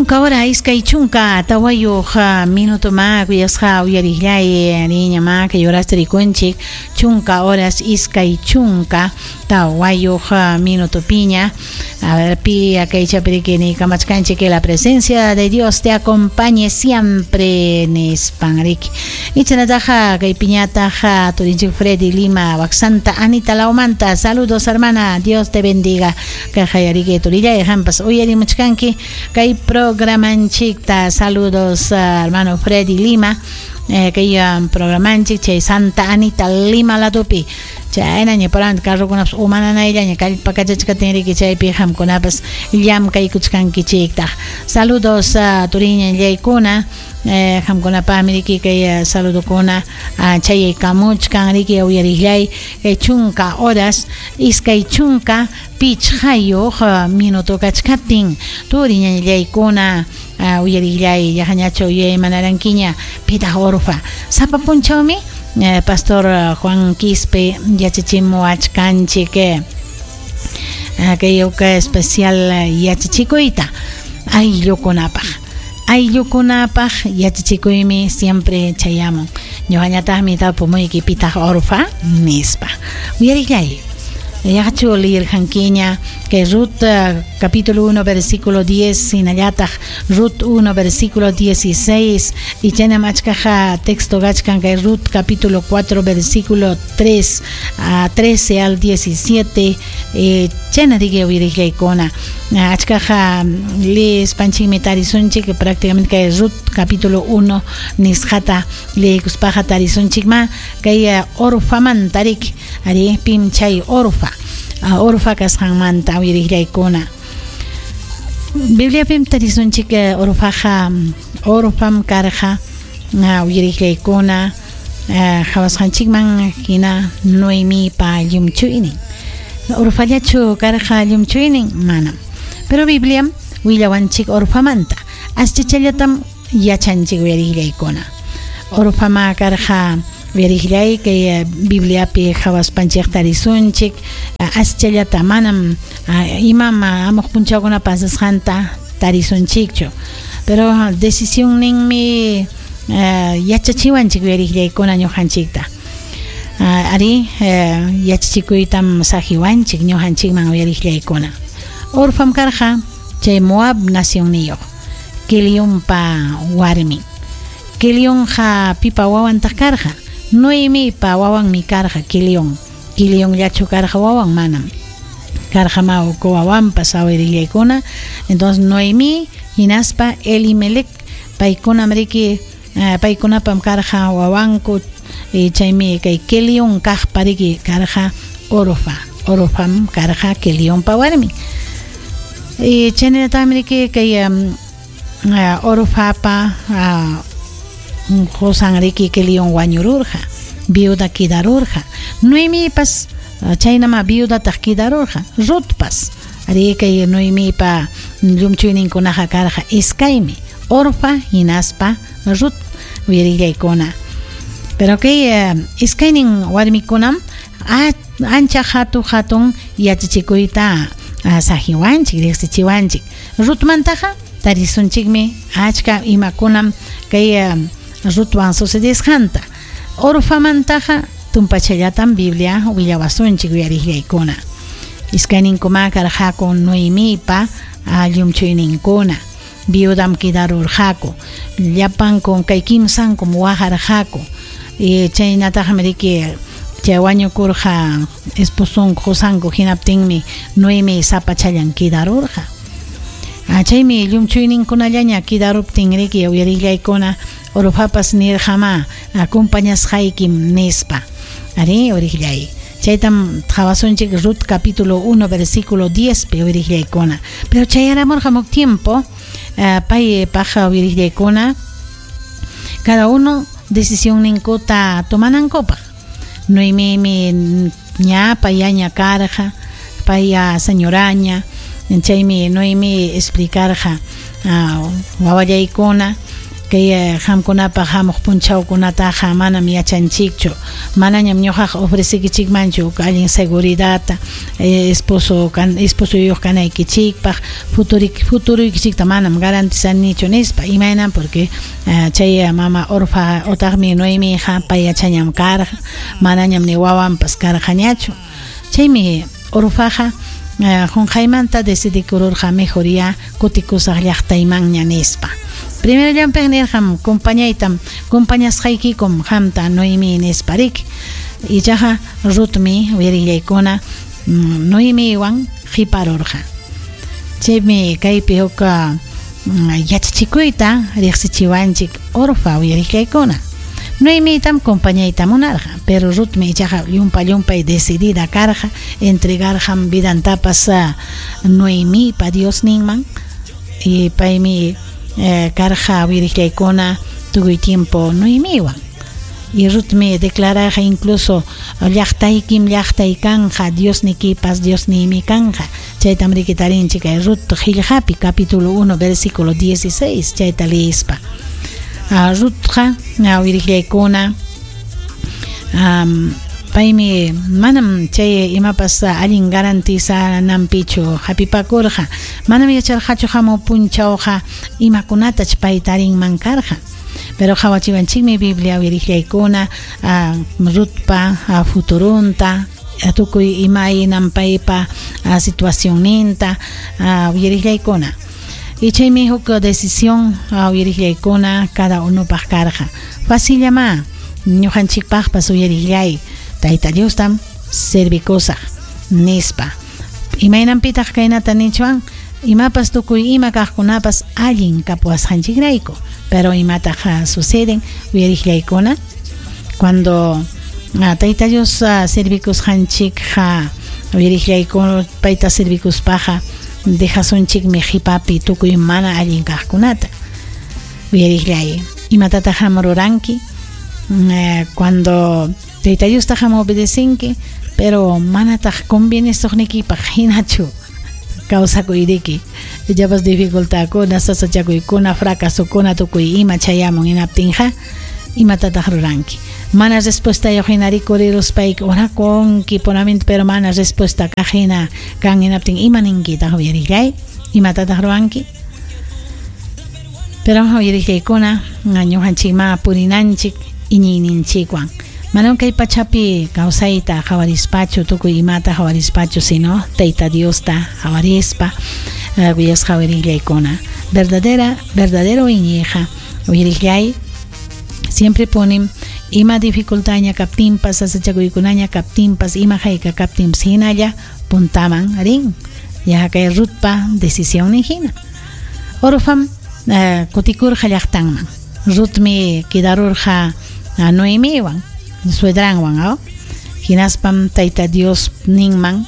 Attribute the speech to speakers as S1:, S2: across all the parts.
S1: Chunka hora 24 minuto ma kuyasqa uyariqllay riña ma kay horasta rikunchik chunka horas 24 minutopiña. A ver, pi kaychapi riki niykamachkanchik que la presencia de Dios te acompañe siempre nispan riki. Ichanataqa kaypiñataq turinchik Freddy Lima wak Santa Anita lawmanta. Saludos, hermana, Dios te bendiga. Kayqa riki turillay qampas uyarimuchkanki kay programanchikta. Saludos, hermano Freddy Lima. Kay programanchik chay Santa Anita Lima ladopi. Chaynaña parante carrokunapas umananayllaña kallpakachachkatin riki chaypi qamkunapas llamkaykuchkankichiktaq. Saludos, turiñallaykuna, qamkunapaqmi riki kay saludokuna chayaykamuchkan riki uyariqllay kay chunka horas 25 minuto kachkaptin turiñallaykuna uyariqllay yaqañachu uyaymanarankiña pitaq Orfa sapa punchawmi Pastor Juan Quispe yachachimuwachkanchik kay uka especial yachachikuyta ayllukunapaq. Ayllukunapaq yachachikuymi siempre chayamun. Ñuqañataqmi tapumuyki pitaq Orfa nispa. Uyariqllay. Yaqachu liyirqankiña kay Ruth capítulo 1 versículo 10 hinallataq Ruth 1 versículo 16 y chaynam achkaqa texto kachkan kay Ruth capítulo 4 versículo 3 a 13 al 17 chayna riki uyariqllaykuna achkaqa leespanchikmi tarisunchik prácticamente kay Ruth capítulo 1 nisqata leykuspaqa tarisunchikma kay Orfamanta riki ari pim chay Orfa Orfa kasqanmanta uyariqllaykuna. Bibliapim tarisunchik Orfaqa Orfam karqa uyariqllaykuna qhawasqanchikman hina Noemipa llumchuynin. Orfallachu karqa llumchuynin? Manam. Pero Bibliam willawanchik Orfamanta. Aschachallatam yachanchik uyariqllaykuna. Orfama karqa uyariqllay kay Bibliapi qhawaspanchik tarisunchik aschallata manam imam amuq punchawkuna pasasqanta tarisunchikchu. Pero decisionninmi yachachiwanchik uyariqllaykuna ñuqanchikta. Ari yachachikuytam saqiwanchik ñuqanchikman uyariqllaykuna. Orfam karqa chay Moab nacionniyuq Kilionpa warmin. Kilionqa pipa wawantaq karqa? Noemipa wawanmi karqa Kilion. Kilionllachu karqa wawan? Manam. Karqa ma uku wawanpas uyariqllaykuna. Entonces Noemí hinaspa Elimelec paykunam riki paykunapam karqa wawanku chaymi kay Kilion kaqpa riki karqa Orfa. Orfam karqa Kilionpa warmin. Chaynataqmi riki kay Orfapa qosan riki Kilion wañururqa, viuda quedarurqa. Noemipas chaynama viudataq quedarurqa, Rutpas. Ari kay Noemipa llumchuyninkunaqa karqa iskaymi, Orfa hinaspa Rut uyariqllaykuna. Pero kay iskaynin warmikunam ancha hatu hatun yachachikuyta saqiwanchik, riqsichiwanchik. Rutmantaqa tarisunchikmi achka imakunam kay Rutwan sucedisqanta. Orfamantaqa tumpachallatam Biblia willawasunchik uyariqllaykuna. Iskayninkuma karqaku Noemipa llumchuyninkuna. Viudam quedarurqaku. Llapankum kay kimsankum waqarqaku. Chaynataqmi riki chay wañukurqa esposonku qosanku hinaptinmi Noemi sapachallan quedarurqa. Chaymi llumchuyninkunallaña quedaruptin riki uyariqllaykuna Orfapas nirqama acompañasqaykim nispa. Ari uyariqllay. Chaytam qhawasunchik Ruth capítulo 1 versículo 10 pi uyariqllaykuna. Pero chayaramurqa huk tiempo pay paja uyariqllaykuna cada uno decisión ninkuta tomanankupaq. Noemimi ña payaña karqa, paya señoraña, chaymi Noemi explicarqa wawallaykuna Kay qamkunapaq hamuq punchawkunataqa manam yachanchikchu. Manañam ñuqaqa ofrecekichikmanchu allin seguridadta, esposo esposoyuq kanaykichikpaq, futuruykichikta manam garantizanichu nispa. Imaynam porque chay mama Orfa otaqmi Noemiqa payachañam karqa, manañam ni wawanpas karqañachu. Chaymi Orfaqa qunqaymanta decidikururqa mejor ya kutikusaq llaqtaymanña nispa. Primerollanpaq nirqam compañaytam compañasqaykikum qamta Noemi nispa riki. Ichaqa Rutmi uyarillaykuna Noemiwan qiparurqa. Chaymi kaypi huk yachachikuyta riqsichiwanchik Orfa uyarillaykuna. Noemitam compañayta munarqa, pero Rutmi ichaqa llumpa-llumpay decidida karqa, entregarqam vidantapas Noemipa Diosninman y paymi karqa uyarillaykuna tukuy tiempo Noemiwan. Y Rutmi declararqa incluso llaqtaykim llaqtay kanqa, Diosnikipas Diosniymi kanqa. Chaytam riki tarinchik kay Rut qillqapi capítulo 1 versículo 16 chayta leespa. Rutqa uyarillaykuna paymi manam chay imapas allin garantizananpichu hapipakurqa. Manam yacharqachu hamuq punchawqa imakunatach pay tarinman karqa. Pero qawachiwanchikmi Biblia uyarillaykuna Rutpa futurunta, tukuy imaynam paypa situacionninta uyarillaykuna. Y chaymi huk decisión uyarillaykuna cada unupaq karqa. Facillamá ñuqanchikpaqpas uyarillay Tayta Diostam servikusaq nispa. Imaynanpitaq kaynata nichwan? Imapas tukuy ima kaqkunapas allin kapuwasqanchikrayku. Pero imataq suceden uyarillaykuna cuando Tayta Dios servikusqanchikqa uyarillaykuna payta servikuspaqa dejasunchikmi qipapi tukuy mana allin kaqkunata. Uyarillay imatataq ruranki cuando Tayta Diosta ham obedecinki pero manataq convienesuqnikipaq hinachu kawsakuyriki. Ichapas dificultadkuna, sasachakuykuna, fracasokuna tukuy ima chayamun hinaptinqa imatataq ruranki. Mana respuestayuq hina rikuriruspayki orakunki puramente pero mana respuesta kaq hina kan hinaptin ima ninkitaq uyarillay imatataq ruwanki. Pero uyarillaykuna ñuqanchikma purinanchik iñiyninchikwan. Manam kay pachapi kawsayta qawarispachu tukuy imata qawarispachu sino Tayta Diosta qawarispa kuyasqa uyarillaykuna. Verdadero iñiyqa uyarillay siempre ponen ima dificultadña kaptinpas sasachakuykunaña kaptinpas ima hayka kaptinpas hinalla puntaman rin. Ya kay Rutpa decisión hina. Orfam kutikurqa llaqtanman. Rutmi quedarurqa Noemiwan suedranwan, ¿no? Hinaspam Tayta Dios ninman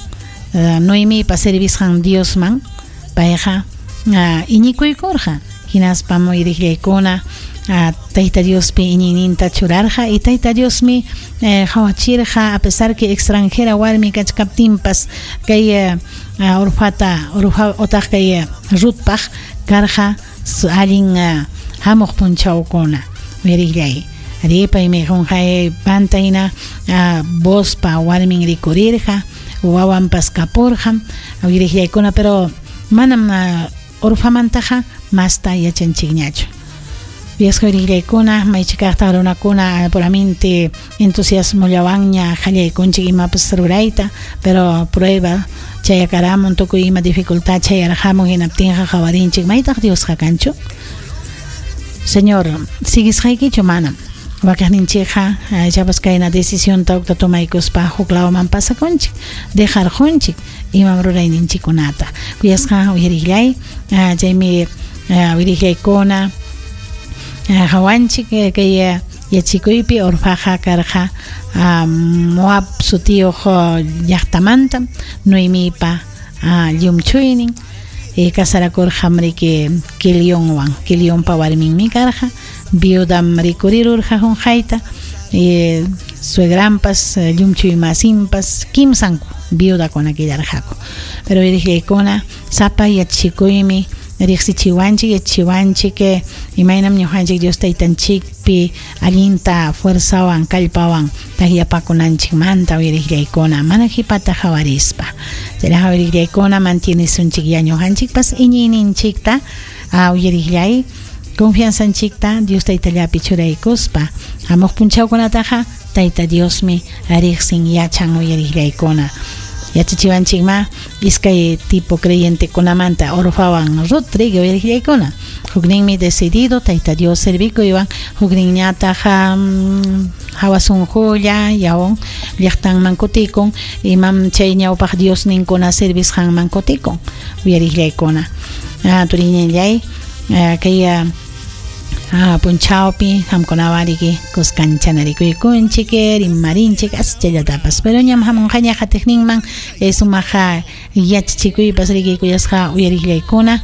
S1: Noemipa servisqan Diosman payqa iñikuykurqa. Hinaspam uyarillaykuna Tayta Diospi iñiyninta churarqa y Tayta Diosmi qawachirqa a pesar que extranjera warmi kachkaptinpas kay Orfata Orfa otaq kay Rutpaq karqa allin hamuq punchawkuna uyarillay. Ari paymi qunqay panta hina Boozpa warmin rikurirqa wawanpas kapurqa uyarillaykuna pero manam Orfamantaqa masta yachanchikñachu. Kuyasqa uyarillaykuna maychikaqtaq runakuna puramente entusiasmollawanña qallaykunchik imapas rurayta pero prueba chayakaramun tukuy ima dificultad chayarqamun hinaptinqa qawarinchik maytaq Diosqa kanchu. Señor, sigisqaykichu manam. Wakaqninchikqa ichapas kayna decisionta hukta tomaykuspa huk lawman pasakunchik, dejarqunchik imam rurayninchikkunata. Kuyasqa uyarillay, chaymi uyarillaykuna qawanchik kay yachikuypi Orfaqa karqa Moab sutiyuq llaqtamanta Noemipa llumchuynin casarakurqam riki Kilionwan. Kilionpa warminmi karqa, viudam rikurirurqa qunqayta suegranpas llumchuy masinpas kimsanku viudakuna quedarqaku. Pero uyarillaykuna sapa yachikuymi riqsichiwanchik yachachiwanchik Imaynam ñuqanchik Dios taytanchikpi allinta fuerzawan kallpawan takyapakunanchikmanta uyariqllaykuna mana qhipata qawarispa. Chaynaqa uyariqllaykuna mantienesunchik ya ñuqanchikpas iñiyninchikta uyariqllay confianzanchikta Dios taytallapi churaykuspa hamuq punchawkunataqa Tayta Diosmi riqsin yachan uyariqllaykuna. Yachachiwanchikma iskay tipo creyentekunamanta Orfawan Rut riki uyariqllaykuna. Hukninmi decidido Tayta Dios servikuywan, hukninñataq hawa sunqulla yawun llaqtanman kutikun, imam chay ñawpaq Diosninkuna servisqanman kutikun uyariqllaykuna. Turiñallay kay punchawpi qamkunawan riki kuskanchanerikuykunchik rimarinchik aschallatapas, pero ñam hamunqaña qatiqninman sumaq yachachikuypas riki kuyasqa uyariqllaykuna.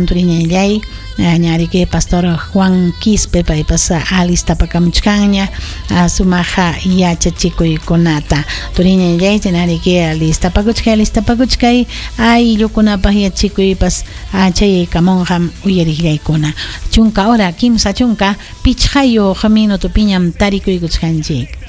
S1: Turiñallay ña riki pastor Juan Quispe paypas alistapakamuchkanña sumaq yachachikuykunata. Turiñallay chaynariki alistapakuchkay alistapakuchkay ayllukunapaq yachachikuypas chayaykamunqam uyariqllaykuna. 10 hora 35 minutopiñam tarikuykuchkanchik.